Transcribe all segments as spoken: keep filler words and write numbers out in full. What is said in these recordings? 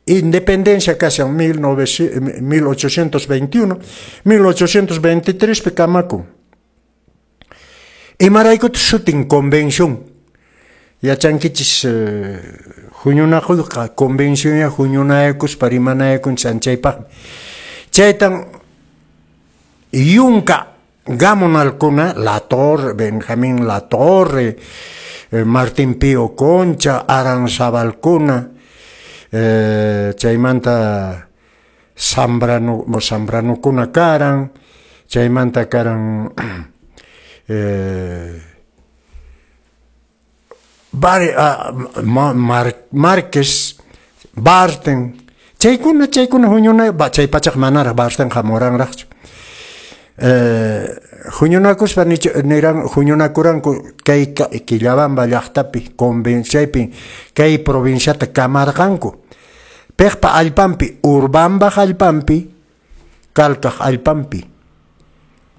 Independencia kashan mil ochocientos veintiuno, mil ochocientos veintitrés pi kamakun. Imaraykutaq sutin convención? Yachankichis huñunakuyqa convencionya huñunayakuspa rimanayakunchis anchaypaqmi. Chaytan yunka gamonalkuna, La Torre, Benjamín La Torre, Martín Pío Concha, Aranzabalkuna, eh, chaymanta Zambrano, Zambranokuna karan, chaymanta karan eh, Bar, uh, Mar, Márquez, Barten, chaykuna chaykuna huñuna, chay pachaq manaraq Barten hamuranraqchu. Eh, huñunakuspa niran huñunakuranku kay Quillabamba llaqtapi convencionpi kay provinciata kamarqanku. Piqpa allpanpi, Urbambaq allpanpi, Calcaq allpanpi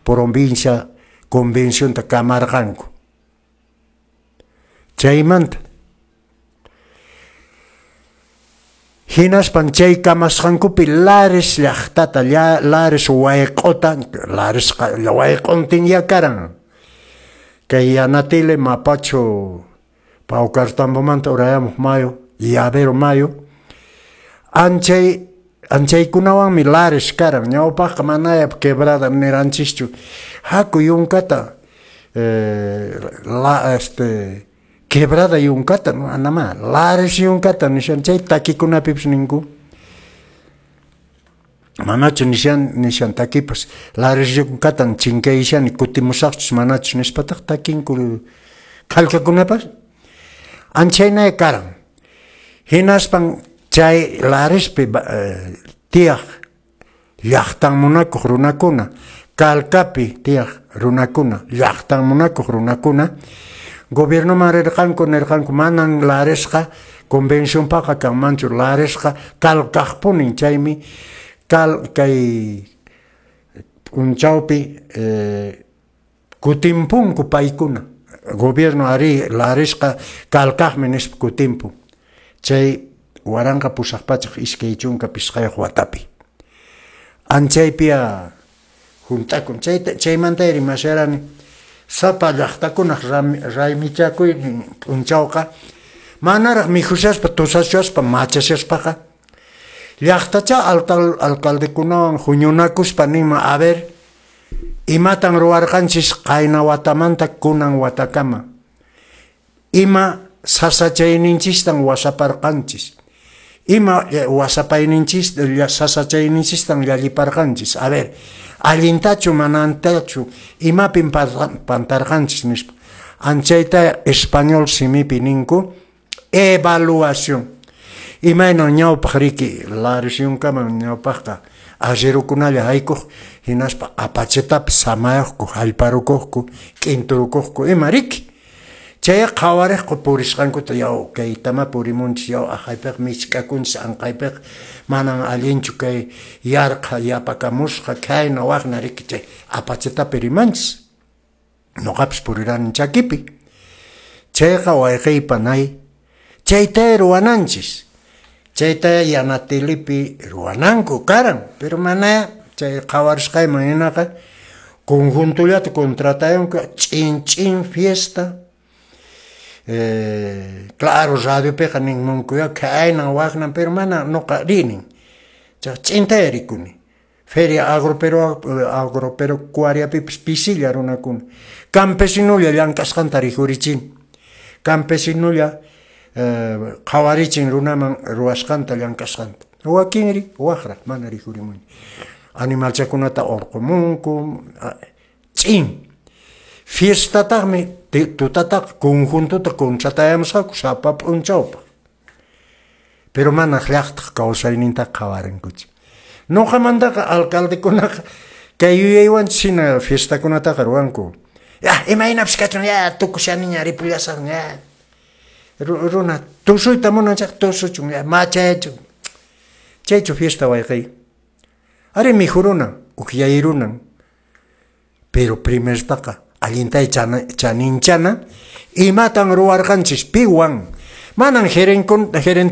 provincia convencionta kamarqanku. Chaymanta hinaspan chay kamasqankupi Lares llaqtata, Lares wayq'uta, Laresqa wayq'untinya karan. Kay Yanatile, Mapacho, Paucartambomanta urayamuq mayu, Llavero mayu, anchay anchaykunawanmi Lares karan. Ñawpaqqa manaya quebrada niranchischu. Haku yunkata eh, la, este, quebrada yunkata, no, anamá, Lares yunkata nishan chay takikunapipis ninku. Manachu nishan nishan takipas Lares yunkatan chinkayshani kutimusaqchus manachus nispataq takinku kallkakunapas. Anchaynaya karan. Hinaspan chay Larespi eh, tiyaq llaqtan munakuq runakuna, Calcapi tiyaq runakuna, llaqtan munakuq runakuna, gobiernoman rirqanku nirqanku manan Laresqa convencionpaqa kanmanchu, Laresqa Calcaqpunin, chaymi cal kay p'unchawpi eh, kutimpunku paykuna. Gobierno ari Laresqa Calcaqmi nispa kutimpun. Chay waranqa pusaq pachak iskay chunka pisqayuq watapi. Anchaypiya hunt'akun. Chayta chaymanta rimasharani sapa llaqtakunaq raymichakuynin p'unchawqa manaraq mikhushaspa tusashaspa machashaspaqa llaqtacha alcal, alcaldekunawan huñunakuspa ninman, a ver, imatan ruwarqanchis qayna watamanta kunan watakama, ima sasachayninchistan wasaparqanchis, ima wasapayninchis sasachayninchistan llalliparqanchis, a ver, allintachu manantachu, imapin pantarqanchis nispa. Anchayta español simipi ninku evaluación. Imaynan ñawpaq riki Lares yunkaman ñawpaqqa arrierokunalla haykuq, hinaspa apachetapi samayuqku, hallparukuqku, k'inturukuqku ima riki. Chay qhawariqku purisqankuta, yaw kaytama purimunchis, yaw aqhaypiqa michk'akunchis, anqaypiqa manan allinchu kay yarqha yapakamusqa, khayna waqna riki chay apachetapi rimanchis. Noqapis purirani chakipi. Chayqa wayqiypa nay, chayta ruwananchis. Chayta Yanatilipi ruwananku karan, pero mana chay qhawarisqayman hinaqa conjuntullata contratayanku ch'in ch'in fiesta. Eh, claro, radiopiqa ninmunkuya khaynan waqnan, pero mana noqa rinin. Chay ch'intaya rikuni. Feria agropero agropecuariapipis pisilla runakuna. Campesinolla llank'asqanta rikhurichin. Campesinolla eh, qhawarichin runaman ruwasqanta llank'asqanta. Wakinri waqra mana rikhurimunchu. Animalchakunata urqumunku, ch'in. Fiestataqmi tutataq conjuntuta contratayamusqaku sapa p'unchawpaq. Pero mana llaqtaq kawsayninta qhawarinkuchu. Noqamantaqa alcaldekunaqa kay yuyaywanchis hina fiestakunataqa ruwanku. Ya, imaynapis kachun, ya tukushaniña ripullasaqña, ya. Runa tusuyta munan chayqa tusuchun, ya machayachun. Chaychu fiesta wayqiy. Ari mikhurunan, ukyayrunan. Pero primertaqa allintay chaninchana imatan ruwarqanchis piwan. Manan gerente